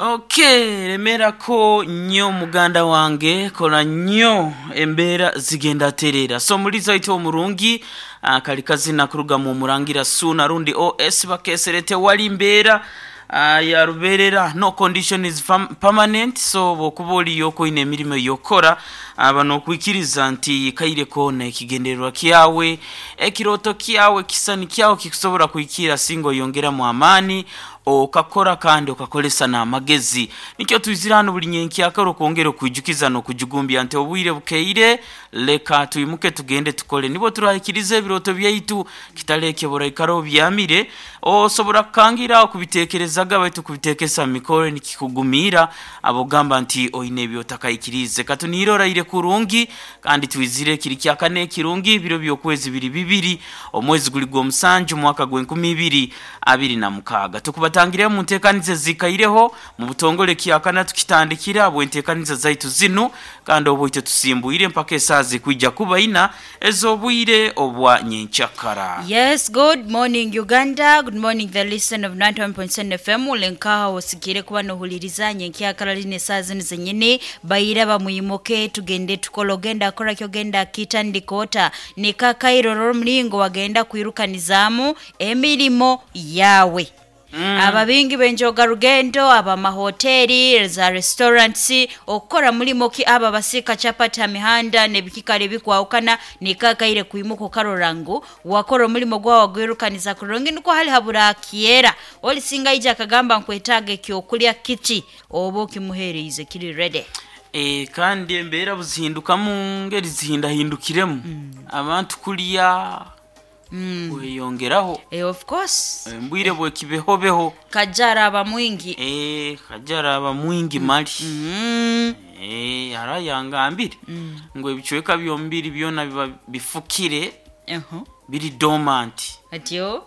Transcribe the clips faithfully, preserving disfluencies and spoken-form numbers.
Okay, lemerako nnyo muganda wange, kola nnyo, embeera zigenda terera. So muliza ite omurungi uh, kali kazina kuruga mu Murangira Suna rundi O S bakesere tewali mbeera uh, ya ruberera, no condition is permanent. So bwokuba oliyo koine emirimu yokora, bano okwikiriza nti kaire kona ekigendererwa kyawe, ekiroto kyawe, kisani kyawe kikusobola kuikira singa oyongeramu amaani, okakora kandi okakolesa n'amagezi. Nikyo twizira hano buli nyenkyakara okwongera okwijukiza n'okujugumbya nti obwire bukeire, leka twimuke tugende tukole, nibo turahikiriza ebiroto byaitu. Kitaleke buraikara obyamire, osobola kukangira okubitekerezaga, baitu kubitekesa mu mikoro nikikugumira abogamba nti oine ebyotakayikirize. Katuniire oraire kurungi kandi twizire kiri kyakane kirungi, ebiro by'okwezi biri bibiri, omwezi guli gw'omusanju, omwaka gw'enkumi ibiri abiri na mukaaga. Tukubatangire mu nteekaniza zikaireho mu butongole kyakana tukitandikira bwenteekaniza zaitu zinu, kandi obwoite tusimbuire mpaka esaaha zikwijja kuba ina ez'obwire obwa nyenkyakara. Yes, good morning Uganda. Good morning the listener of ninety-one point seven F M. Ulenkaha osikire kuba nohuliriza nyenkyakara line saa zino zenyini. Bayira bamwimuke tugende tukola, ogenda akora kyogenda kitandikota nikakairoro omulingo wagenda kwirukanizaamu emirimo yawe mm. Ababingi benjoga rugendo, abamahoteri, za restaurants, okukora mulimo ki, aba basika chapati ha mihanda nebikikale bikwawukana, nikakaire kwimuka okarora ngu wakora omulimo gwawe gwirukaniza kurungi, niko hali habura kiera olisinga ija akagamba nkwetaaga ekyokulya kiti, oba okimuhereize kiri ready. E, kandi embeera buzihindukamu ngeri zihindahindukiremu mm. Abantu kulya mm. kweyongeraho. Eh, of course. Mbwire bwekibehobeho. Kajara aba mwingi. E, kajara aba mwingi mali mm. E, arayangambire mm. ngo ebicweka byomubiri byona biba bifukire, uh -huh. biri dormant. Atyo.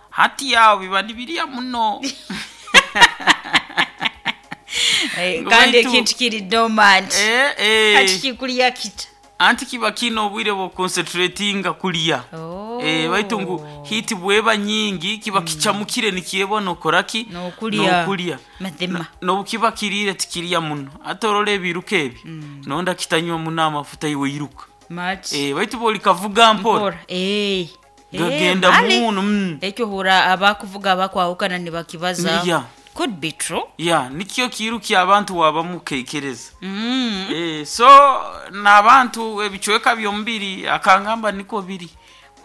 Hati yawe biba nibirya muno. Eh, Ngo kandi baitu- ekintu kiri dormant, Eh, eh. kati kikulya kita? Anti kiba kina obwire bwoconcentratinga kulya. Oh. Eh, baitu ngu hiti bweba nyingi kiba kicamukire nikyebona okoraki. Nokulya. Nokulya. Mazima. Nobukiba kirire tikirya muno, ate orora ebiruka ebi nonda kitanywa muno amafuta, iwe iruka. Much. Eh, baitu bolikavuga mpora. Mpora. Eh. Gagenda mali. muno mm. Ekyo hura abakuvuga abakwawukana nibakibaza. Yeah. Could be true. Ya, nikyo kiruki abantu wabamukekereza. mm. Eh, so n'abantu ebicweka byomubiri akangamba niko biri.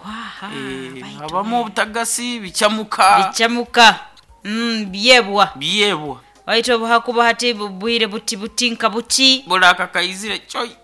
Waha, Eh, baitu habamu obutagasi, bicamuka. Bicamuka, mm, byebwa. Byebwa. Waitu obuhakuba hati bubwire buti buti nka buti. Bulaka kaizire choi.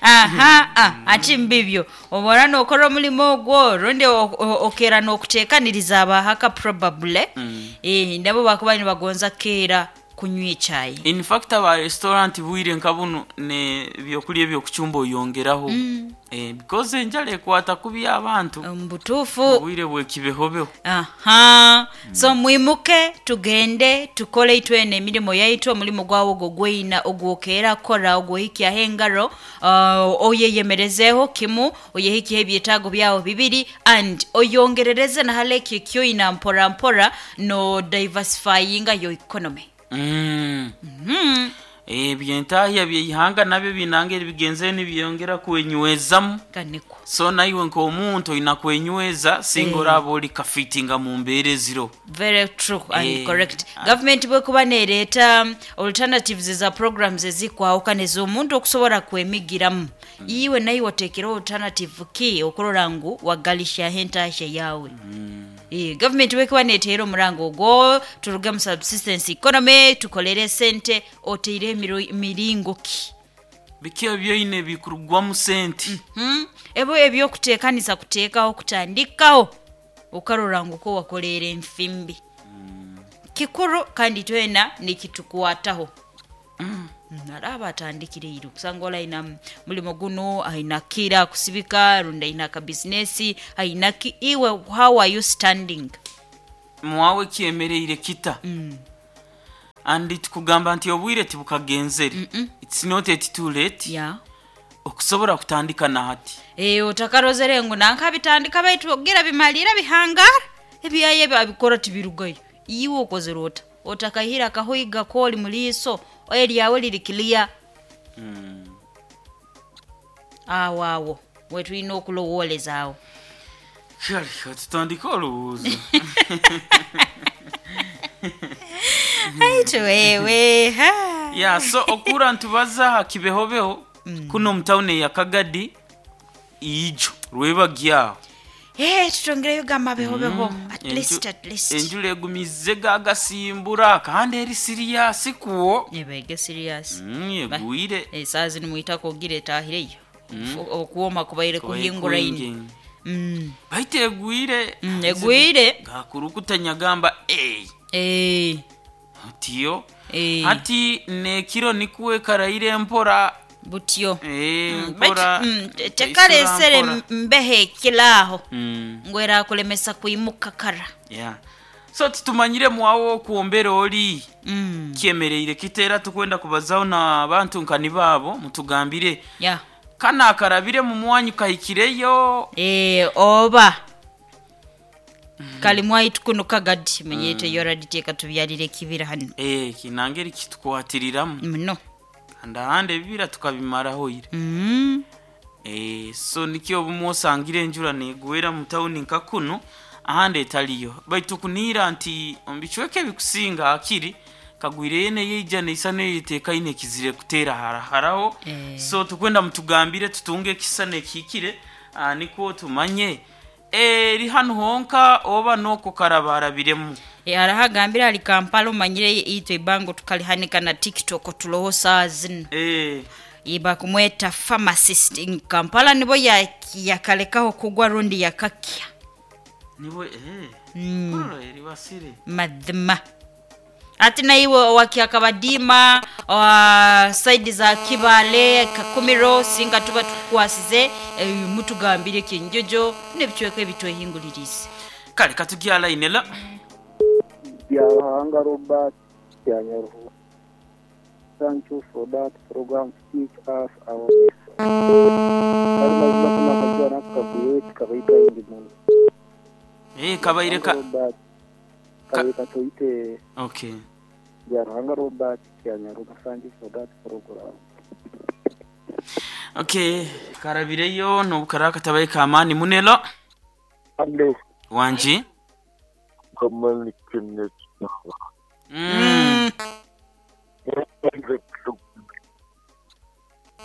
Aha, ah, ati mbibyo obora nokora omulimo ogwo rundi o- o- okera nokutekaniriza abahaka probably mm. Eh, nabo bakuba nibagonza keera kunywa echayi. In fact aba restaurant bwire nka buno ne byokulya ebyokucumba oyongeraho mm. Eh, because enjala ekwata kubi abantu Mubutuufu. bwire bwekibehobeho. Aha, so mwimuke tugende tukole itwene emirimu yaitu, omulimu gwawe ogwo gwina ogwokeera kora ogwohikyaho engaro, uh, oyeyemerezeho kimu, oyehikyeho ebyetaago byawe bibiri and oyongerereze nahale ekyo ekyoina mpora mpora no diversifyinga your economy. mm. mm. Ebyentahya byeihanga nabyo binanga bigenze nibyongera kwenywezamu. Ganiko. So naiwe nk'omuntu olina kwenyweza singa Eh. oraba oli kafitinga mu mbeera eziro. Very true and Eh, correct. ah. Government bwekuba nereeta um, alternatives za programs ezikwawukana ez'omuntu okusobola kwemigiramu, iwe naye oteekerewo alternative ki okurora ngu wagalishaho entahya yawe. Eh, government bwekuba neteera omurango ogwo turuge mu subsistence economy tukolere sente, oteire emiro- miringo ki? Biki ebyoine bikurugwamu sente? Hmm? Ebyo ebyokuteekanisa kuteekaho kutandikaho okarora ngu ko wakoleera enfimbi kikuru kandi twena nikitukwataho. Araba atandikire iri kusanga ola aina mulimo guno, aina kira kusibika rundi aina akabizinesi aina ki, iwe how are you standing? Mwawe kyemereire kita and tukugamba nti obwire tibukagenzere, it's not yet too late yeah. okusobola kutandika nahati. E, otakarozere ngu nankabitandika baitu ogira bimalira bihangara ebyaye babikora tibirugayo. Iwe okozere ota otakahira akahoiga koli muliiso eryawe liri clear. Mm. Awo awo wetulina okulowooleza awo. Kale katutandike olowooza. Aitu wewe ha. Ya, so okura ntubaza ha kibehobeho kuno mutawuni ya Kagadi ijo rwebagyaho. Eh, tutongereyo gamba behobeho at Enju- least at least enjura egumize gagasimbura kandi eri siriyasi kuwo. Ebege serious. Mm, egwire. Esaazi nimwitako ogira etahireyo okuwoma kubaire kuhinguraine. Mm. Baita egwire. Mm, egwire. Gakurukutanya gamba ey. Eh, Tiyo. eh, Hati nekiro nikuwe karaire mpora. Butyo. Eh, Mm, mpora. baitu, mm, te- tekaresere mpora. mbeho ekiraaho Mm, ngu erakulemesa kwimuka kara. yeah. So tutumanyire mwawo okuombera oli Mm. kyemereire kiteera tukwenda kubazaho n'abantu nkani baabo mutugambire Yeah. kana akarabire mu mwanyu kahikireyo. Eh, oba kali mwaitu kuno Kagadi menyete yoraditeeka tubyalire ekibira hano. Eh, kinangeri kitukwatiriramu Muno. kandi ahandi ebibira tukabimaraho ire. Mm. Eh, so nikyo obumwe osangire enjura negwera mu tawuni nka kuno ahandi etaliyo, baitu kuniira nti omu bicweka ebikusinga akiri kagwire neyeija neisa neyeteekaine kizire kuteera haraharaho. Eh. So tukwenda mutugambire tutunge ekisana ekihikire, ah, nikwo tumanye eri hanu honka oba noko karabarabiremu. E, arahagambira ali Kampala omanyire itwe ibango tukalihanika na TikTok tuloho saa zino. Eh, Iba kumweta pharmacist in Kampala nibo ya- yakalekaho kugwa rundi yakakya. Niwe eh, Mm. kurora eribasire. Madhima ati naiwe wakiakabadima wa saidi za Kibale Kakumiro singa tuba tukwasize, eh, mutugambire kinjojo nebicweka ebitwehingulirize. Kale katugya line la. Byahanga Robert Byanyaruhu. Thank you for that program to teach us our lesson. Kali mazima kuna akajua nako kaguye kabaita ingi muno. Eh, kabaire ka Robert kabaire katoite. Okay. Byaruhanga Robert Byanyaruhu. Thank you for that program. Okay, karabireyo nobukara katabaye kamani munelo. Alo, Wanji. kamani Kenneth. Mm.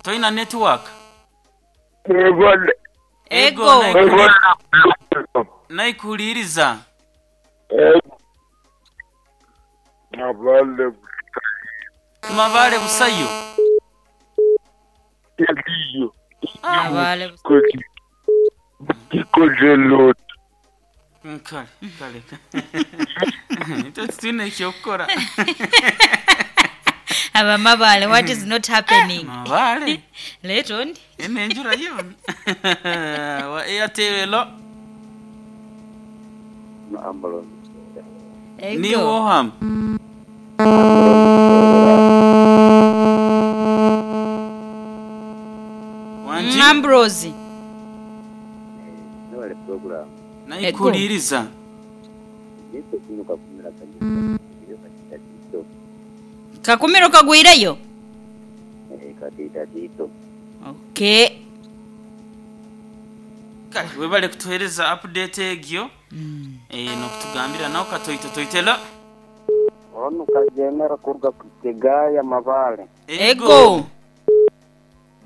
Toina network. Ebale, Ego. Ego. Naikuliriza. Nabale Mabale busayo. eliyo. Abale. Kodi. Kikojelot. Mm, Kale, kale. Ito tutine ekyokukora. Abamabale, what is not happening? Mabale. Leeta ondi. Ene enjura yona. Wa Airtel lo. Ambulance. Ego. Ni woham. Wanji. Mm, Ambrose. Nabale program. Naikuliriza. Nito kino kakumira kanyuka. Iyo katita tito. Kakumiro kagwireyo. Eh, katita tito. Okay. Kale webale kutuhereza update egyo. Eh, nokutugambira nawe katoito toitela. Ono kajemera kuruga kutegaya Mabale. Ego.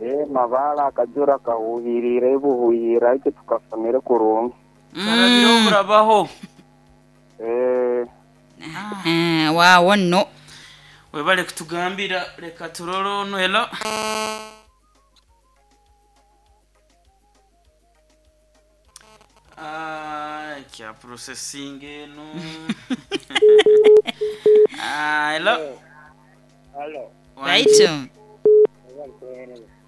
Eh, Mabale akajura kahuhirire buhuhira icyo tukasomere kurungi. Karabiro burabaho. Eh, Eh, waawo nno. Webale kutugambira reka turore ono elo. Ah, kya processing eno. Ah, hello. Halo. Right.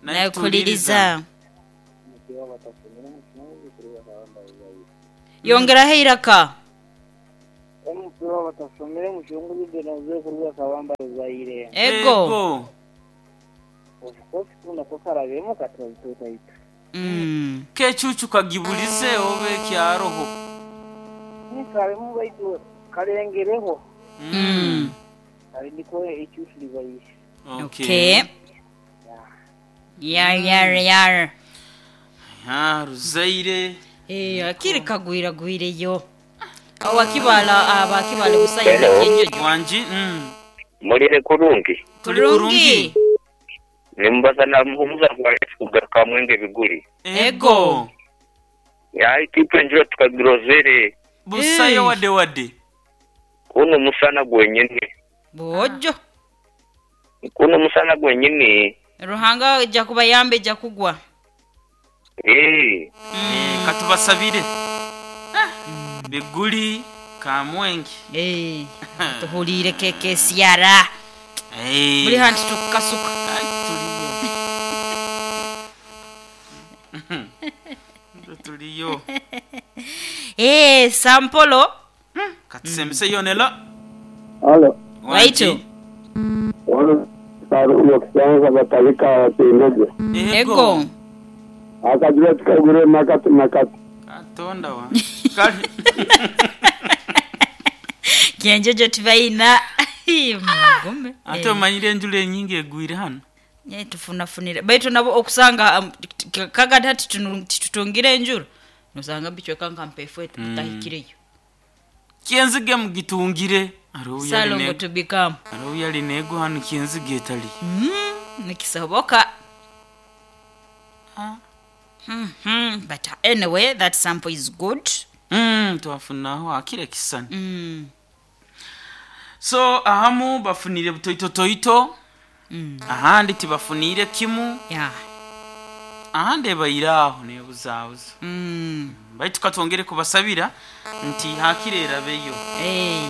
Nakuliriza. Yongeraho iraka. Omupira batasomere mu kirungu bigenoze kuruga kabamba ruzaire. Ego. Of course kuna ko karabemo katoito. Mm. Kecucu kagibulize obe kyaroho. Ni karemu baitu Kalengereho. Mm. Ali niko ekyusilibaire. Okay. Yar yar yar. Ah, ruzaire. Eh, akiri kagwiragwireyo. Awakibala abakibala busaya nekinjojo. Wanji. Mm. Mulire kurungi. Tuli kurungi. Nimbaza na muhumuza kugaruka mwenge biguri. Ego. Yayi tipe njira tukagirozere. Busayo wade wade. Kuno musana gwenyene. Bojo. Kuno musana gwenyene. Ruhanga ija kubayambe ija kugwa. Eh. Mm. Katubasabire. Ah. Biguri kamwenge. Eh. Tuhulire keke siara. Eh. Buli hantu tukasuka. Ai tuliyo. Tuliyo. Eh, Sampolo. Katusemise yonela. Halo. Waito. Wano saru yokusanza batalika watendeje. Ego. Akajira tukagure makati makati. Katonda wa. Kali. Kienjojo tubaina. Mugume. Ate omanyire enjula enyingi egwire hano. Nye tufunafunire. Baitu nabo okusanga um, kagati hati tutungire enjura. Nosanga bichweka nka mpefu tutahikireyo. Kyenzige mugitungire. Salongo to become. Aruya yali nego hano kyenzige etali. Mm, nikisoboka. Ah. Mm -hmm. But anyway, that sample is good. Mm, twafunaho akire kisani. Mm. So ahamu bafunire butoito toito. Mm. Ahandi tibafunire kimu. Yeah. Ahandi ebayiraho nebuzabuza. Mm. Baitu katwongere kubasabira nti hakire erabeyo. Eh.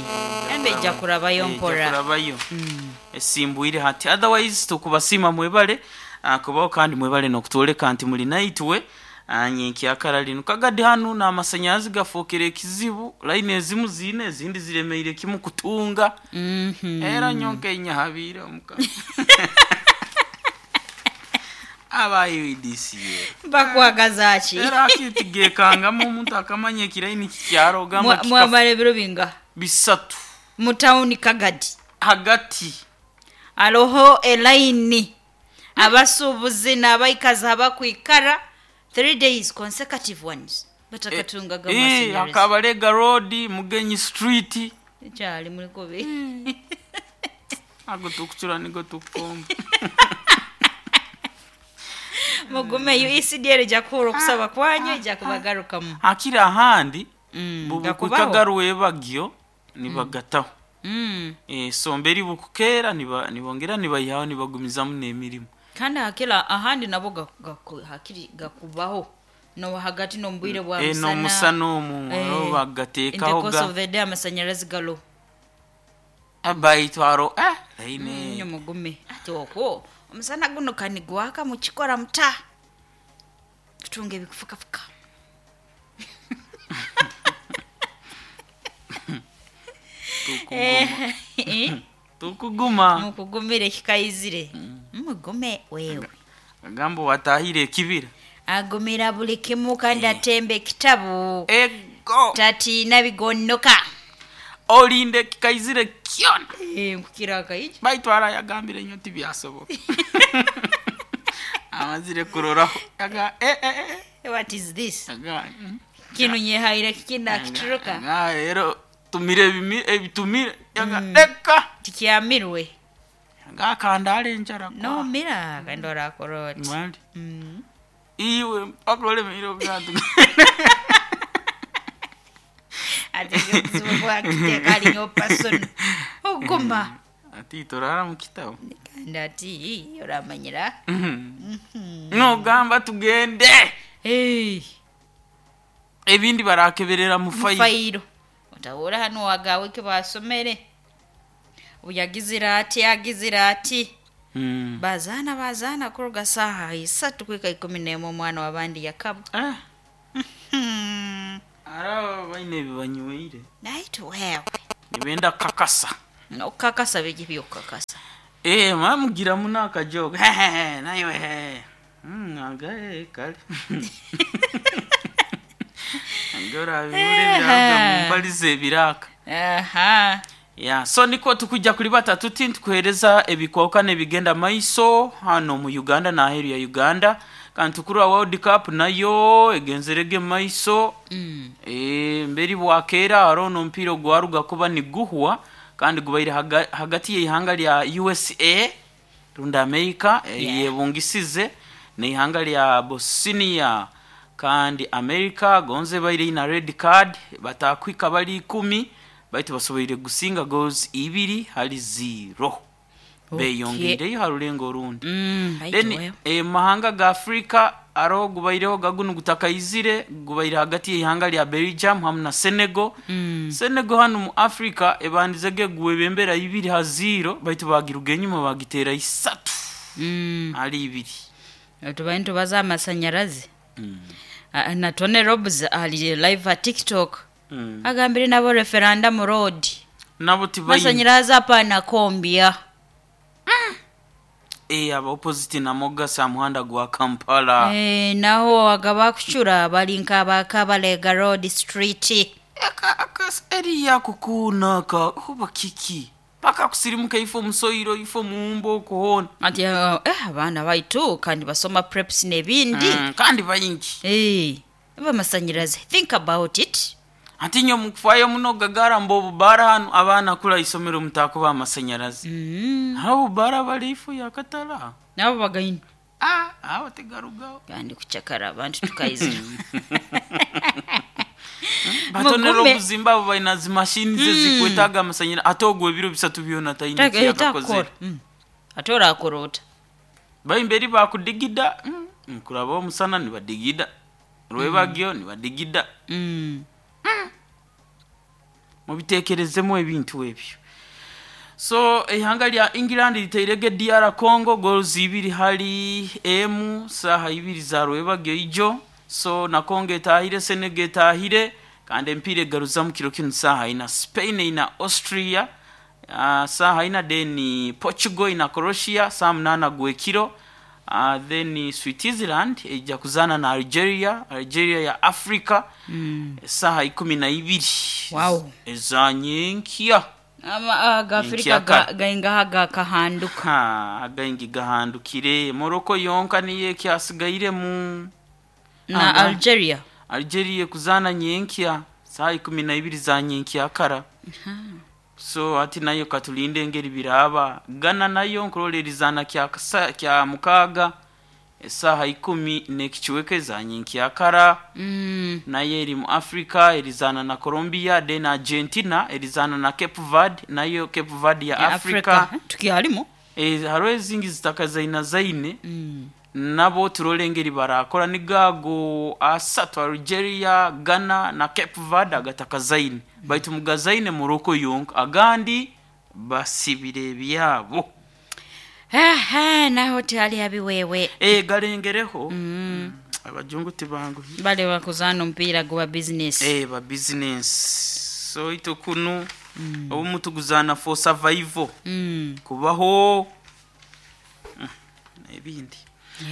Embe ijja kurabayo mpora. Kurabayo. Mm. Esimbwire hati otherwise tukubasima mwebale uh, kubaho kandi mwebale nokutwoleka nti muli naitwe anyenki akara lino kagadi hanu n'amasanyazi gafookere ekizibu line ezimu ziine ezindi ziremeire kimu kutunga. Mm -hmm. Era nyonka enyahabiire omukama. Abayo D C A bakwagaza ki era akitigekangamu omuntu akamanya ekiraini kikyaro gamba mwamara ebiro binga bisatu mu tawuni Kagadi hagati aloho elaini abasuubuzi n'abaikazi abakwikara three days consecutive ones batakatungaga eh, amasannyalaze. Akabalega Road, Mugenyi Street Ekyali mulikobe. Ago tukuchura nigo tukomba. Mugume U E C D L ejja kuhura okusaba kwanyu ejja kubagarukamu. Akira ahandi Mm, bubukukagaruwe bagyo nibagataho. Mm. Eh, somberi bukukera niba nibongera nibayihaho nibagumizamu n'emirimu. Kandi hakira ahandi nabo ga- hakiri gakubaho no hagati no mbwire bwa Eh, musana. no musana omu Eh, no in the bagateekaho course ga of the day amasanyalazi galo. Abayitwaro eh laine. Nnyo mugume ati okwo omusana guno kanigwaka mukikora muta kutunga ebikufukafuka. Tukuguma. Tukuguma. Mukugumire kikayizire. Mugume wewe. Agambo watahire ekibira. Agumira buli kimu kandi atembe ekitabu. Ego. Tatiina bigonnoka. Olinde kikayizire kyona. Eh, nkukira akayija. Baitwara yagambire nnyo tibyasoboka. Amazire kuroraho. Aga eh eh eh. What is this? Aga. Mm. Kino nyehaire kikina kituruka. Aga rero tumire ebimi ebitumire. Aga leka. Tikyamirwe. Aga kandale enjara. No mira kandi orakoroti. Mwali. Mm. Iwe mpaka ole miro gatu. Ati kuzibu bwakiteeka alinyo person. Oguma. Ati torara mu kitabo. Kandi ati oramanyira. No gamba tugende. Hey. Ebindi barakeberera mu fayiro. Fayiro. Otawura hano wagawe ke basomere. Uyagizira ati agizira ati. Mm. Bazana bazana kuruga saha isatu kwika ikumi n'emwe omwana w'abandi yakaba. Eh. Hmm. Ara baine ebibanyweire. Naitu wewe. Nibenda kakasa. Okukakasa biki byokukakasa. Eh, mamugira muno akajoga. Nayo he. Mm, aga eh kale. Ngorabibura ebiraruga mu mpalize ebiraka. Aha. Ya, so niko tukujja kulibata tuti ntukuhereza ebikooka n'ebigenda maiso hano mu Uganda n'aheeru ya Uganda. Kandi tukurwa World Cup nayo egenzerege maiso. Mm. E, mberi bwakeera hariho n'omupiira ogwaruga kuba niguhwa kandi gubaire haga, hagati y'eihanga lya U S A rundi America, yeah, Yeah. yebungisize n'eihanga lya Bosnia. Kandi America gonze baire ina red card batakwika bali ikumi, baitu basoboire gusinga goals ibiri hali zero. Okay. Beyongeireyo ha rulengo orundi. Mm, Then baituweho. e, mahanga ga Afrika aro gubaireho gagunu gutakaizire, gubaire hagati y'ihanga lya Belgium hamwe na Senegal. Mm. Senegal hano mu Afrika ebandizege gwebembera ibiri ha zero, baitu bagiruga enyuma bagitera isatu Mm. ali ibiri. Tubaye nitubaza amasanyarazi. Ah, na Tony Robs ali live at TikTok. Mm. Agambire nabo referendum road. Nabo tibayi Masanyarazi apana kombya. e, aba opposite namoga sa muhanda gwa Kampala. Eh, naho agaba kucura bali nk'abakabalega road street. Aka aka eri yakukuna ka huba kiki paka kusirimuka ifo musoiro ifo muumbo okuhona. Ati eh, abaana baitu kandi basoma preps n'ebindi. Mm, kandi bayingi. Eh, abamasanyarazi, think about it. Ati nyo mukufayo muno gagara mbo obubara hano abaana kula isomero mutakuba amasanyarazi. Mm. Abo bubara bali ifo yakatala. Nabo bagaine. Ah, abo tegarugaho. Kandi kucakara abantu tukaizira. Batonera Mugume. obuzimba abo balina zimashini ze zikwetaaga amasanyarazi, ate ogwo ebiro bisatu byona talina kyeyakakozere. Takora. Mm. Ate orakorota. Baimberi bakudigida, mm, nkuraba omusana nibadigida, rwebagyo nibadigida. Mm. Mubitekerezemu ebintu ebyo. So ihanga lya England liteirege D R Congo goals ibiri hali emu saha ibiri za rwebagyo ijo. So na Congo etahire, Senegal etahire, kandi empiira egaruzamu kiro kinu saha ina Spain ina Austria, uh, saha ina, then Portugal ina Croatia saa munana gwekiro. Uh, then Switzerland ejja kuzaana na Algeria, Algeria ya Africa, Mm. saha ikumi na ibiri Wow. ezanyenkya. Ama agafrika Nkyaka. gaingaha gakahanduka. Ha, againgi gahandukire. Morocco yonka niyo ekyasigairemu. Na Aga. Algeria. Algeria kuzaana nyenkya saha ikumi na ibiri za nyenkya kara. So ati nayo katulinde engeri biraba. Ghana nayo nkurora erizaana kya kasa- kya mukaaga esaaha ikumi n'ekichweka eza nyenkya kara. Mm. Nayo eri mu Africa erizaana na Colombia. Then Argentina erizaana na Cape Verde, nayo Cape Verde ya Ya Africa. Afrika. Tukyalimu. E, hariho ezingi zitaka zaina zaine. Mm. Nabo turole engeri barakora nigago asatu, Algeria, Ghana na Cape Verde, agataka zaine, baitu mugazaine Morocco yonka, agandi basibire ebyabo. Aha, naho tali habiwewe. E, galengereho. mm. Abajungu tibangu. Bale bakuzana omupiira guba business. E, ba business. So ito kunu mm. obumu tuguzana for survival. Mm. Kubaho. Mm, ebindi.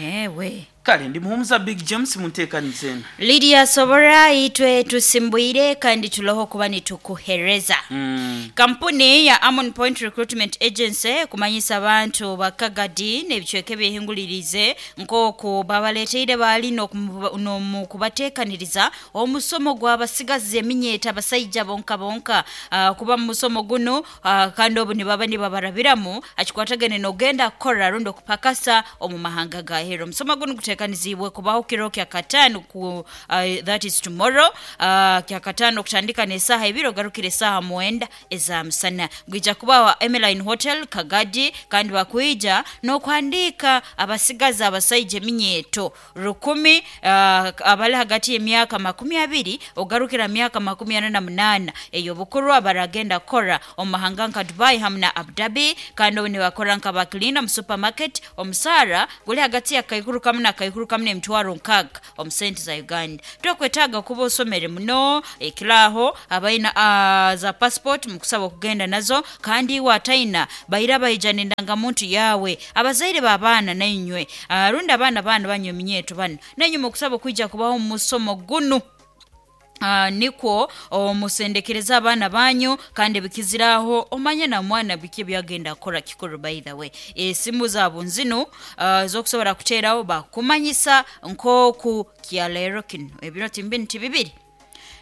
Yewe. Kale ndi Muhumuza Big James, munteekanize eno. Lydia Sobora, itwe tusimbwire kandi tuloho kuba nitukuhereza. Mm. Kampuni ya Amon Point Recruitment Agency kumanyisa abantu bakagadi n'ebicweka ebyehingulirize nk'oku babaleeteire baali n'okumu- n'omukubateekaniriza omusomo gw'abasigazi eminyeeta abasaija bonka bonka. Ah, kuba mu musomo guno, ah, kandi obu nibaba nibabarabiramu akikwatagane n'ogenda kukora rundi okupakasa omu mahanga ga hero. Omusomo guno guteekanizibwe kubaho kiro kya kataano ku, uh, that is tomorrow, uh, kya kataano okutandika n'esaaha ibiri ogarukire esaaha mwenda eza musana. Gwija kubawa Emeline Hotel Kagadi, kandi bakwija n'okuhandiika abasigazi abasaija eminyeeto rukumi, uh, abali hagati y'emyaka makumi abiri ogarukira myaka makumi ana na munaana eyo bukuru, abaragenda kukora omu mahanga nka Dubai hamwe na Abu Dhabi, kandi obu nibakora nka bakilina mu supermarket. Omusaara guli hagati ya kaikuru kamu na kaikuru kamu n'emitwaro nkaaga omu sente za Uganda. Tokwetaaga kuba osomere muno ekiraaho abaina uh, za passport mukusaba okugenda nazo, kandi iwe ataina baira baija n'endangamuntu yawe. Abazaire b'abaana nainywe, uh, rundi abaana baana banywa eminyeeto bano nainywe mukusaba okwija kubaho omu musomo gunu. Uh, nikwo omusendekereza abaana banyu kandi bikiziraho omanye na mwana biki byagenda kukora kikuru. By the way, esimu zaabo nzinu uh, zokusobola kuteerawo bakumanyisa nk'oku kyaleero kino ebiro timbi nti bibiri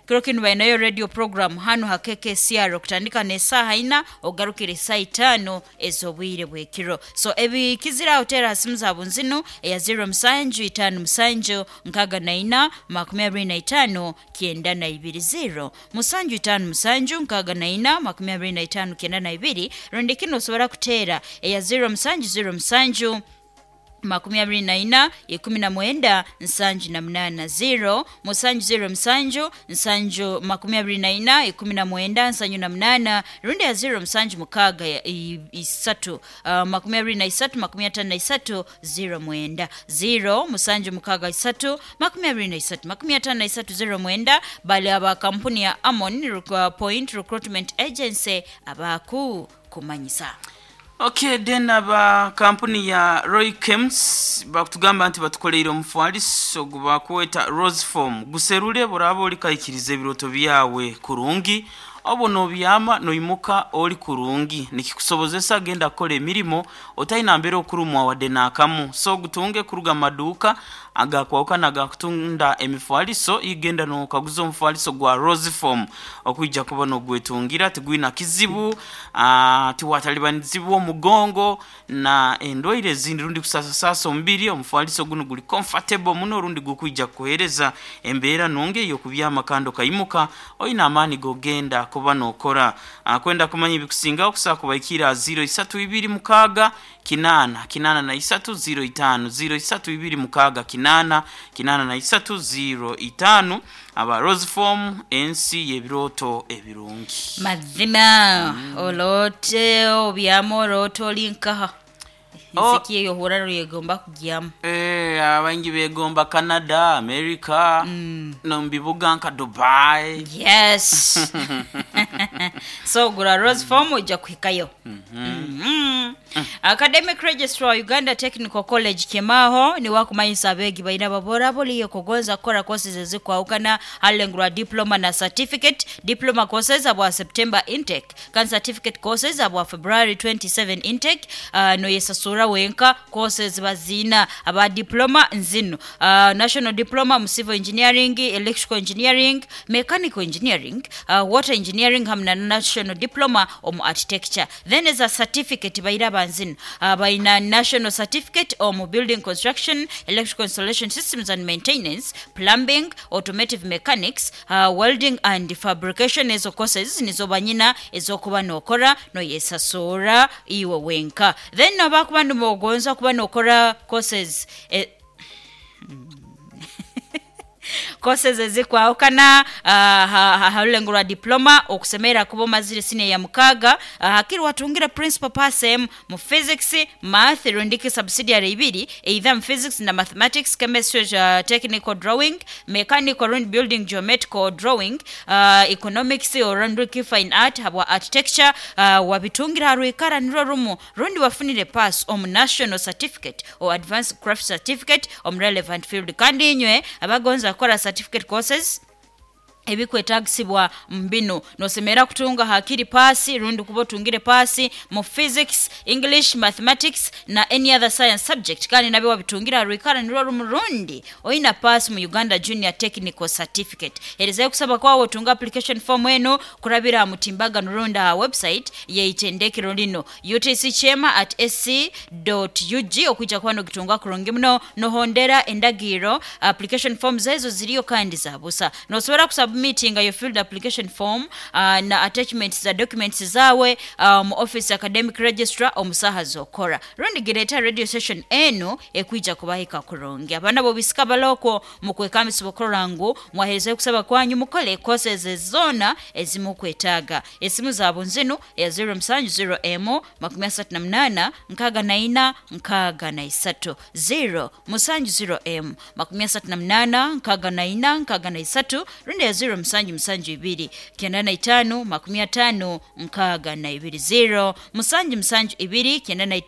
kiro kinu balinayo radio program hano ha K K C R okutandika n'esaaha ina ogarukira esaaha itaano ez'obwire bw'ekiro. So ebikiziraho teera simu zaabo nzinu eya zero musanju itaano musanju nkaaga na ina makumi abiri na itaano kyenda na ibiri, zero musanju itaano musanju nkaaga na ina makumi abiri na itaano kyenda na ibiri. Rundi kino osobola kuteera eya zero musanju zero musanju makumi abiri na ina ikumi na mwenda nsanju na munana, zero musanju zero musanju nsanju makumi abiri na ina ikumi na mwenda nsanju na munana, rundi ya zero musanju mukaaga ya- i- isatu uh, makumi abiri na isatu makumi atano na isatu zero mwenda, zero musanju mukaaga isatu makumi abiri na isatu makumi atano na isatu zero mwenda. Bali aba kampuni ya Amon Rec- Point Recruitment Agency abaku kumanyisa. Okay, then aba kampuni ya Roy Kems bakutugamba nti batukoleire omufaliso gubakweta Rose Form guserule buraba oli kaikiriza ebiroto byawe kurungi obo nobyama noimuka oli kurungi nikikusobozesa genda kukola emirimo otalina mbeera okurumwa wadde naakamu. So gutunge kuruga mu maduuka agakwawukana agakutunda emifaliso, igenda nokaguza omufaliso gwa Rose Form okwijja kuba nogwetungira tigwina kizibu, ah, tiwatalibanizibwa omugongo na endwaire ezindi rundi kusasasasa omubiri. Omufaliso guno guli comfortable muno rundi gukwijja kukuhereza embeera nungi eyokubyama kandi okayimuka oyina amaani gogenda kuba nokora. Ah, kwenda kumanya ebikusingaho kusobola kubaikira zero isatu ibiri mukaaga kinana kinana na isatu zero itaano, zero isatu ibiri mukaaga kinana kinana na isatu zero itaano. Aba Rose Form, ensi y'ebirooto ebirungi. Mazima olote obyama oloota oli nkaha? Oh. Ensiki eyo ohura ruyegomba kugyamu. Eh, abangi begomba Canada, America, no mubibuga nka Dubai. Yes, so gura Rose Form ojja kuhikayo. Mhm. Academic registrar wa Uganda Technical College Kemaho niwakumanyisa abeegi balina babora buliyo kugonza kukora courses ezikwawukana halengurwa diploma na certificate. Diploma courses abwa September intake kandi certificate courses abwa February twenty-seven intake. uh, noyesasura wenka. Courses bazina aba diploma nzino: uh, national diploma mu civil engineering, electrical engineering, mechanical engineering, uh, water engineering hamwe na national diploma omu architecture. Then eza certificate baira banzino uh, baina national certificate omu building construction, electrical installation systems and maintenance, plumbing, automotive mechanics, uh, welding and fabrication. Ezo courses nizo banyina ezokuba nokora noyesasura iwe wenka. Then abakuba nimugonza kuba nokora courses eh, courses ezikwawukana uh, halulengo lwa diploma okusemera kuba omazire senior ya mukaaga, uh, hakiri watungira principal pass M mu physics, math rundiki subsidiary ibiri either mu physics na mathematics, chemistry, uh, technical drawing, mechanical rundi building geometrical drawing, uh, economics orundiki fine art habwa architecture, uh, wabitungira harwikara nirwo rumu rundi wafunire pass omu national certificate or advanced craft certificate omu relevant field. Kandi inywe abagonza kukora certificate courses, ebikwetagisibwa mbino nosemera kutunga hakiri pasi rundi kuba otungire pasi mu physics, English, mathematics na any other science subject kandi nabyo wabitungira rwikara nirwo rumu rundi oina pasi mu Uganda Junior Technical Certificate. Erezayo kusaba kwawe otunga application form eno kurabira mutimbagano rundi aha website yeitendekero lino utcchema at sc ug okwijja kuba nogitunga kurungi muno nohondera endagiro. Application forms ezo ziriyo kandi zabusa. Nosobola kusubmittinga your field application form uh, na attachments za documents zawe uh, mu office academic registrar omusaha zokora rundi gireta radio station eno ekwija kubahika kurungi. Abaana bobisika baloko mukwekambisa okurora ngu mwaherezayo kusaba kwanyu mukole courses zona ezimukwetaaga. Esimu zaabo nzinu eya zero seven zero m makumi asatu na munana nkaaga na ina nkaaga na isatu, zero musanju zero m makumi asatu na munana nkaaga na ina nkaaga na isatu, rundi ya zero musanju musanju ibiri kyenda na itaano makumi ataano nkaaga na ibiri, zero musanju musanju ibiri kyenda na itaano.